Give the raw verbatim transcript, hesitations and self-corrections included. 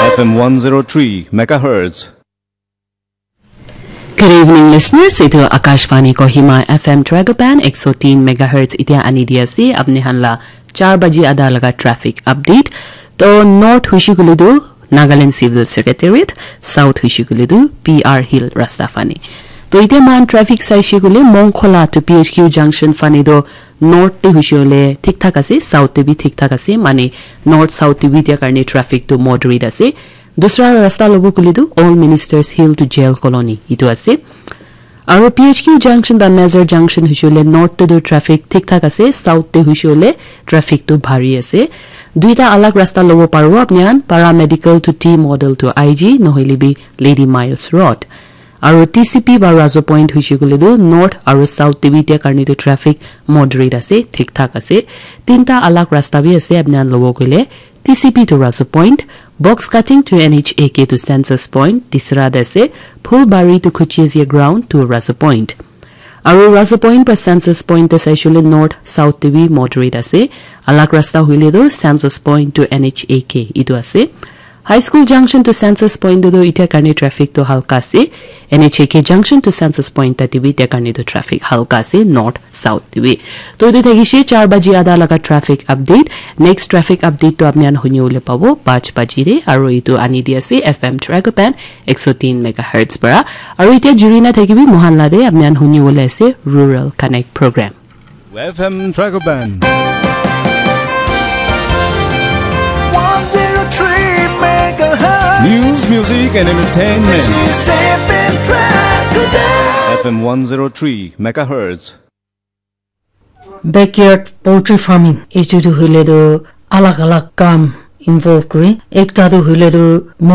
F M one zero three megahertz. Good evening, listeners. Itu Akashvani Kohima F M Dragopan one oh three megahertz itia ani di ase. Apni han la char baji ada laga traffic update. To north hushi kule tu Nagaland Civil Secretariat, south hushi kule tu P R Hill rasta fani. To itia man traffic sai shi kule Mongkhola to P H Q junction fani do north te hushi ole thik thak ase, south te bi thik thak ase, mane north south te bi itia karne traffic to moderate ase. Dusra rasta lobo kule tu All Ministers Hill to Jail Colony itu ase. Aru P H Q junction ba Major junction hushi ole north te tu traffic thik thak ase, south te hushi ole traffic tu bhari ase. Duita alag rasta lobo paribo apni khan, Paramedical to T Model to I G, nohoile bi Lady Miles Road. Aru T C P ba Razo Point hushi kule tu north aru south te bi itia karne tu traffic moderate ase, thik thak ase. Tinta alag rasta bi ase apni khan lobo koile, T C P to Razo Point, box cutting to N H A K to Census Point, tisra te ase, Phulbari to Khuchezia Ground to Razo Point. Aru Razo Point pra Census Point te saishole north south te bi moderate ase. Alag rasta hoile tu Census Point to N H A K itu ase. High School Junction to Census Point tu itia karne traffic tu halka ase. N H A K Junction to Census Point tate bi itia karne tu traffic halka ase, north south te bi. To itu thakishe char baji ada laga traffic update. Next traffic update tu apni khan huni bole pabo panch baji te, aru itu ani di ase F M Dragopan one oh three megahertz para. Aru itia juri na thakibi mohan la de apni khan huni bole ase Rural Connect program. F M Dragopan. one oh three megahertz. News, music, and entertainment. This is F M Dragopan. F M one oh three megahertz. Backyard poultry farming, etu tu hoile tu alag alag kam involve kuri. Ekta tu hoile tu